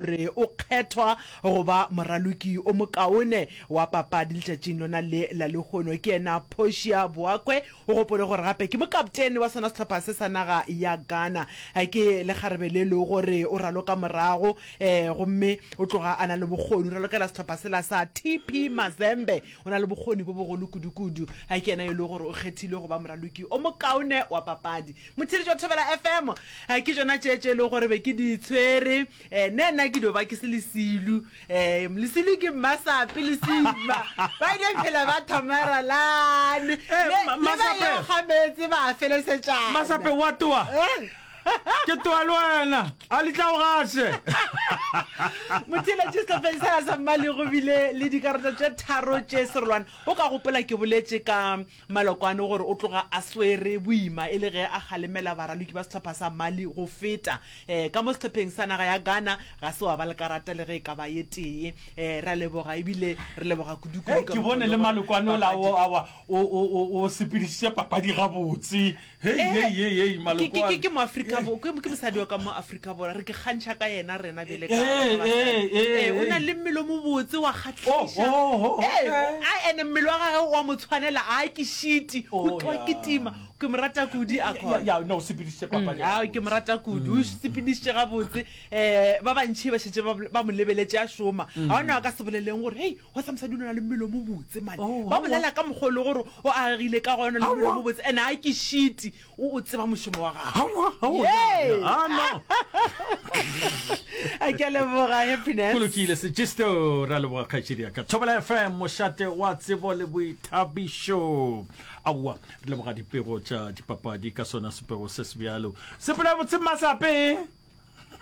Re o kgethwa go ba moraloki o mokaone wa papadi letšatšing lona le la lehono. Ke yena Portia Boakwe. O gopole gore gape ke mokaptene wa sona sehlopha se sa naga ya Ghana. Ke lekgarebe le lego gore o raloka morago gomme o tloga a na le bokgoni. O ralokela sehlopha sela sa TP Mazembe. O na le bokgoni bo bogolo kudu-kudu. Ke yena yo e lego gore o kgethilwe go ba moraloki o mokaone wa papadi. Motheeletši wa Thobela FM, ke tšona tše tše e lego gore be ke di tshwere. Eh, ne nna ke dio ba ke se lesilu. Eh, lesilu ke mmasape le sima. Ba ile phela ba thomaralane. Eh, Le ma- le ba Masape. yo ga meetse ba felesetšana. Masape wa toa. Eh. Ke toa le wena. A le tla o gaše. Motheeletši sehlopheng sela sa Mmali go bile le dikarata tše tharo tše serolwana. O ka gopola ke boletše ka Malokwane gore o tloga a swere boima e le ge a kgalemela baraloki ba sehlopha sa Mali go feta ka mo sehlopheng sa naga ya Ghana ga se wa ba le karata le ge e ka ba ye tee. Re a leboga ebile re leboga kudu-kudu Hei, ka ke mokgwa bone o le le gore Malokwane ola papadi o awa o o o o sepedišitše papadi gabotse. Hei, Eh, hei, hei, hei, ke, ke, ke, Malokwane. ke Moafrika Bo- ke, ke mosadi wa ka mo Afrika Borwa. Re ke kgantšha ka yena rena bjale ka Eh, ka basadi. eh, eh, Eh, o na eh. le mmele o mobotse wa Oh, kgahliša. oh, oh, Eh, okay. a ene mmele wa gagwe wa mo tshwanela, a ke šiti, o Oh, tloga yeah. kitima. Ke mo rata kudu Ya, Akon. ya, no, o sepedišitše papadi Ao, ke mo gabotse. rata kudu. O sepedišitše gabotse. Um ba bantši ba šetše ba, ba mo lebeletše a šoma. Ga gona a ka se boleleng gore, hei, Wa sa mosadi o na le mmele o mobotse mane. Oh, Ba aowa. bolela ka mokgwa o le gore o agile ka gona le mmele o Aowa. mobotse and a ke shiti o o tseba mošomo wa gagwe. Aowa, aowa, Yay! ah, no. A ke a leboga Happiness. Go lokile Sejisto, ra leboga kgaetšedi ya ka. Thobela FM, mošate wa tsebo le boithabišo. Aowa, re leboga dipego tša dipapadi ka sona sepego se sebjalo. Sepela botse Masape.